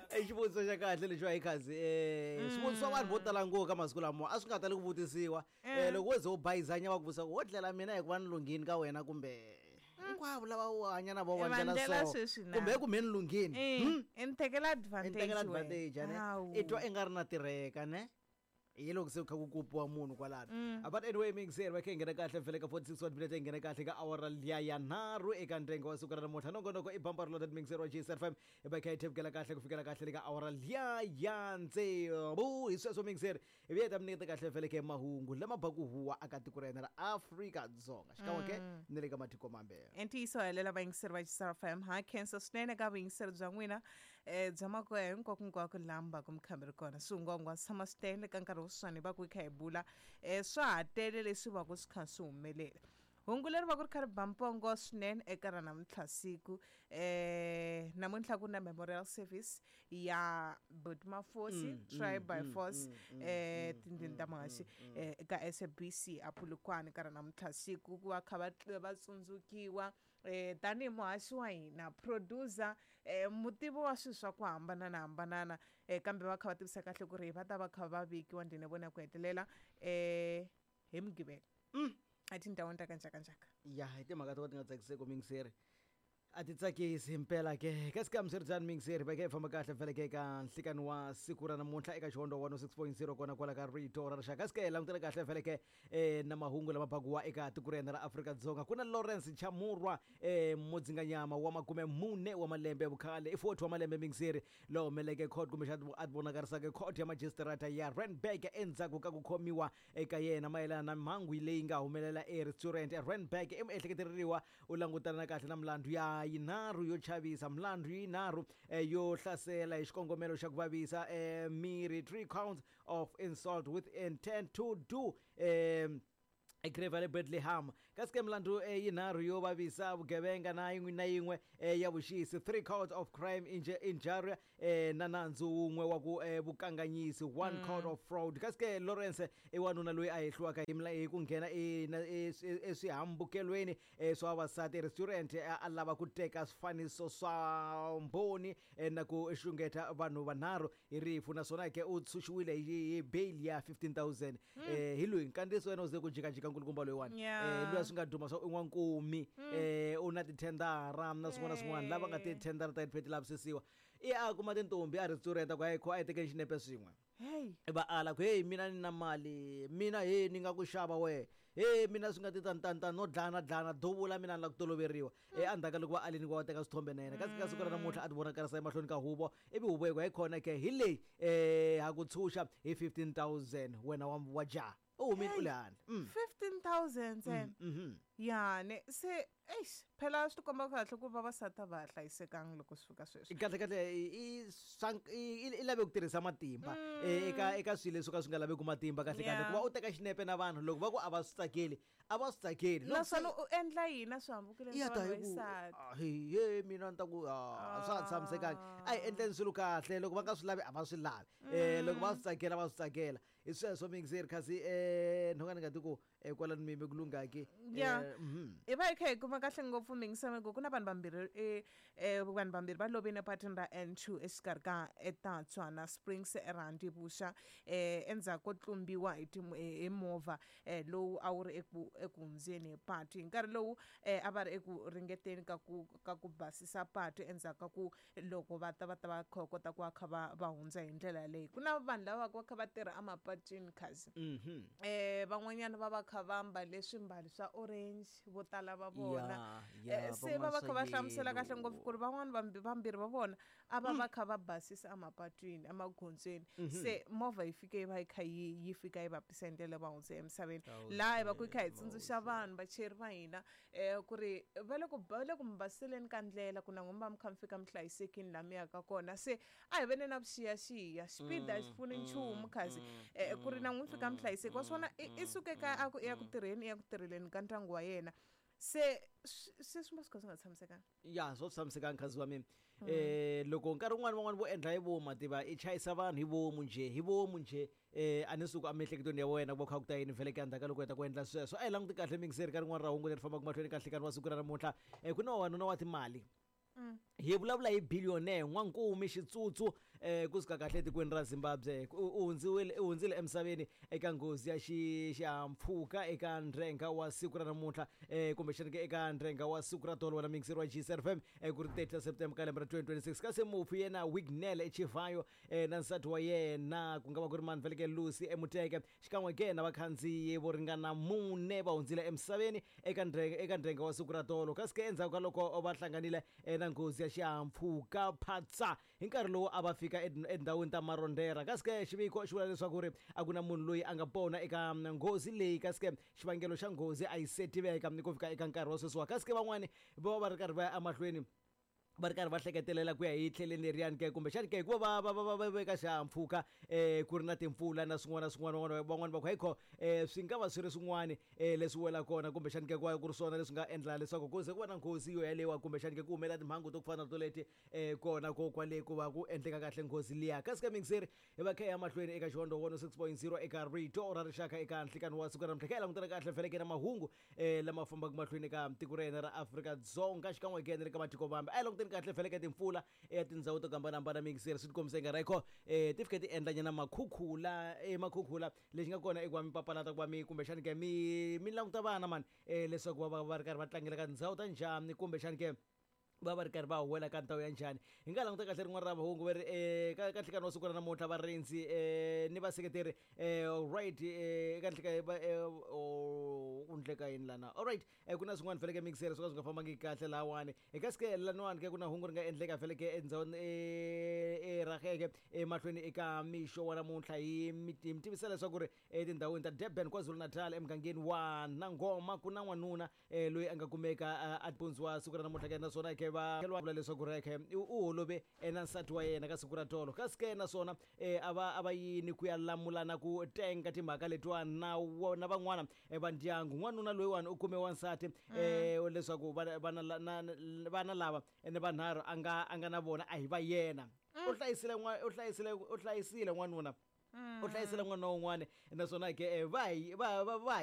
I xivutiso xa kahle lexiwa hi khazi um swivutiso swa vanhu vo tala ngopfu ka masiku lamawa a swi nga tali ku vutisiwa um loko wo ze u bayizanya va ku vutisa ku wo dlela mina hikuva ni lunghini ka wena kumbe hinkwavo lava u hanya na vo I va va ndlela ndlela so sweswi na. kumbe kumbe ni lunghini Eh, i ni tekela i advantage ni tekela wena. advantage ane Hawu. i twa i nga ri na tirheka ne hi loko se ku kha ku kupiwa munhu kwalano but anyway mixer va kha hi nghena kahle vhele ka 46 wa timinete hi nghena kahle ka awara liya ya nharhu eka ndenge wa siku ra namuntlha nongonoko i bambara loaded mixer wa gsfm hi va kha hi thevukela kahle ku fikela kahle le ka awara liya ya ntsevu hi sweswo mixer hi vuya hi ta mi nyiketa kahle vhele ka mahungu lama baku huwa aka tiko ra hina ra Afrika-Dzonga xikan'we ke ni le ka matiko mambe. I ntiyiso helela vayingiseri va Xisara FM ha khensa swinene ka vuyingiseri bya n'wina um bya makoya hinkwako laha mi va ku mi kha mi ri kona. Swihungwahungwa swi tshama swi tele ka nkarhi wo sweswiwani hi va ku hi kha hi bula um swa ha tele leswi va ku swi kha swi humelela. Hungu leri va ku ri kha ri ba mpongo swinene eka ra namuntlha siku um namuntlha ku na memorial service ya Buti Mafosi Try by Force um tindlwini ta muhaxi um eka SABC a Polokwane ka ra namuntlha siku ku va kha va va tsundzukiwa um tanihi muhaxi wa hina producer um mutivi wa swilo swa ku hambanana hambanana um kambe va kha va tivisa kahle ku ri va ta va kha va vekiwa ndlwini ya vona ya ku hetelela um hi Mugqivela etindhawini ta ka njhakanjhaka. Ya hi timhaka to ka ti nga tsakiseki mingiseri a ti tsakisi himpela ke kasi ka miswiritano mingiseri va kha hi famba kahle vhele ke eka nhlikani wa siku ra namuntlha eka xihondo 106.0 kona kwala ka rito ra rixaka kasi ke hi langutele kahle vhele ke na mahungu lama bakuwa eka tiko ra hina ra Afrika-Dzonga ku na Lawrence Chamurwa mudzinganyama wa 40 wa malembe ya vukhale i 40 wa malembe mingiseri lowu humeleke court kumbexana a ti vonakarisaka court ya majisitarata ya Randburg endzhaku ka ku khomiwa eka yena mayelana na mhangu leyi nga humelela e-restaurant eRandburg i miehleketeleriwa u langutana na kahle na milandzu ya yinharhu yo chavisa milandzu yinharhu yo hlasela hi xikongomelo xa ku vavisa miri 3 counts of insult with intent to do egrave le Bethlehem kasi ke milandzu yinharhu yo vavisa vugevenga na yin'we na yin'we ya vuxisi 3 counts of crime injury na nandzu wun'we wa ku vukanganyisi 1 count of fraud kasi ke Lawrence i wanuna loyi a hehliwaka hi ku nghena eswihambukelweni swa vavasati restaurant a lava ku teka swifaniso swa mbhoni na ku xungeta vanhu vanharhu hi rifu naswona ke u tshunxiwile hi bail ya 15000 hi loyi nkandziyiso wena u ze ku jikajika nkulukumba loyiwani loyi a swi nga duma swa i n'wankumi u na tithendara na swin'wana na swin'wana lava nga tithendara ta ti lavisisiwa i a kuma tintombi a restaurant ku a hi tekeni xinepe swin'we va ala ku hey mina ni na mali mina he ni nga ku xava wehe he mina swi nga ti tani tani tani no dlana dlana duvula mina ni la ku toloveriwa endzhaku ka loko va alini ku va teka swithombe na yena kasi ka siku ra namuntlha a ti vonakarisa emahlweni ka huvo ivi huvo yi ku hi khona ke hi leyi ha ku tshunxa hi 15000 wena wa jaha u humile u le handle 15000 ntsena ya ne se eish phela swi tikomba kahle ku vavasati a va ha hlayisekanga loko swi fika sweswi. Kahle kahle i lave ku tirhisa matimba eka eka swilo leswi ka swi nga laveki matimba kahle kahle ku va u teka xinepe na vanhu loko va ku a va swi tsakeli a va swi tsakeli. Naswona u endla yini a swihambukelweni ya swa ta vanhu hi ku vaxisati? he mina ni ta ku a swa ha tshamisekanga a hi endleni swilo kahle loko va nga swi lavi a va swi lavi loko va swi tsakela va swi tsakela hi sweswo mixer kasi nhonga ni nga ti ku kwalano mi yime ku lunghaki Ya. Hi va hi kha hi kuma kahle ngopfu mingisameko ku na vanhu vambirhi vanhu vambirhi va lovile epatwini ra N2 exikarhi ka eTatswa na Springs eRandi Vuxa endzhaku ko tlumbiwa hi hi movha lowu a wu ri eku eku hundzeni hi patu hi nkarhi lowu a va ri eku ringeteni ka ku ka ku basisa patu endzhaku ka ku loko va ta va ta va kha kota ku va kha va va hundza hi ndlela leyi ku na vanhu lava va kha va tirha emapatwini khazi van'wanyana va va kha va mbale swimbalo swa orange vo tala va vona se va va kha va hlamusela kahle ngopfu ku ri van'wani vambirhi va vona a va va kha va basisa emapatwini emagondzweni se movha yi fike yi va yi kha yi yi fika yi va pisa hi ndlela va hundze emisaveni laha hi va ku hi kha hi tsundzuxa vanhu vachayeri va hina ku ri va le ku va le ku mi basiseleni ka ndlela ku na n'wina mi va mi kha mi fika mi hlayisekile laha mi yaka kona se a hi veni na vuxiyaxiya xipidi a xi pfuni nchumu khazi ku ri na n'wina mi fika mi hlayiseki wa swona i suke kaya a ku i ya ku tirheni i ya ku tirheleni ka ndyangu wa yena se se swi va swi kha swi nga tshamisekanga ya swo tshamisekanga khazi wa mina loko nkarhi wun'wani van'wani vo endla hi vomu mativa i chayisa vanhu hi vomu njhe hi vomu njhe a ni suku emiehleketweni ya wena ku va kha ku ta yini vhele ka ndzhaku ka loko u heta ku endla sweswo a hi languti kahle mingiseri ka rin'wana ra hungu leri fambaka mahlweni ka nhlikani wa siku ra namuntlha ku na wanuna wa timali. Hi vulavula hi billionaire N'wankumi Xitsutsu kusuka kahle etikweni ra Zimbabwe. U hundziwile, u hundzile emisaveni eka nghozi ya xihahampfhuka eka ndrenga wa siku ra namuntlha, kumbexana ke eka ndrenga wa siku ra tolo wena mixeri wa GCRFM, ku ri 30 September ka lembe ra 2026. Kasi mufi yena Wignell Chivayo na nsati wa yena ku nga va ku ri mani veleke Lucy Emuteke xikan'we ke na vakhandziyi vo ringana mune va hundzile emisaveni eka ndrenga wa siku ra tolo. Kasi ke endzhaku ka loko va hlanganile na nghozi ya xihahampfhuka phatsa hi nkarhi lowu a va fika etindhawini ta Marondera. Kasi ke xiviko xi vula leswaku ri a ku na munhu loyi a nga pona eka nghozi leyi. Kasi ke xivangelo xa nghozi a yi se tiveka ni ku fika eka nkarhi wa sweswiwa. Kasi ke van'wani va va ri karhi va ya emahlweni va ri karhi va hleketelela ku ya hi tlheleni leriyani ke, kumbexani ke hikuva va veka xihahampfhuka ku ri na timpfula na swin'wana na swin'wana. Van'wani va ku hayikho, swi nga va swi ri swin'wani leswi wela kona, kumbexani ke ku ri swona leswi nga endla leswaku ku ze ku va na nghozi yo yalewa, kumbexani ke ku humelela timhangu to ku fana na toleti kona ko kwale ku va ku endleka kahle nghozi liya. Kasi ka mingiseri hi va kha ya mahlweni eka Xihondzo 106.0 eka Rito ra Rixaka eka nhlikani wa siku ra namuntlha. Kha hi langutana kahle feleke na mahungu lama fambaka mahlweni eka tiko ra hina ra Afrika-Dzonga xikan'we ke na le ka matiko mambe. A hi languteni kahle feleke timpfula ya tindhawu to hambanahambana mingiseri, swi tikombisa yi nga ri kho ti fike ti endla nyana makhukhula. Makhukhula lexi nga kona i ku va mi papalata ku va mi kumbexani ke mi languta vana mani leswaku va va va ri karhi va tlangela ka tindhawu ta njhani, kumbexani ke va va ri karhi va huwela ka ndhawu ya njhani. Hi nga languta kahle rin'wana ra mahungu va ri ka nhlikani wa siku ra namuntlha varindzi ni vaseketeri right eka nhlika ku ndleka yini lana. Alright, ku na swin'wana feleke mixer swo ka swi nga fambangi kahle lahawani. Eka sike laniwani ke ku na hungu ri nga endleka feleke endhawini erhageke emahlweni eka mixo wa namuntlha. Hi mi tivisa leswaku ri etindhawini ta Durban, KwaZulu-Natal, emugangeni wa Nangoma ku na n'wanuna loyi a nga kumeka a pundziwa siku ra namuntlha ke, naswona ke va vula leswaku ri ke u holove na nsati wa yena ka siku ra tolo. Kasi ke naswona a va yini ku ya lamulana ku tenga timhaka letiwa na van'wana va ndyangu. N'wanuna loyiwani u kume wansati leswaku vana lava ni vanharhu a nga na vona a hi va yena. U hlayisile u hlayisile n'wanuna, u hlayisile n'wana wun'wana, naswona ke va va va va.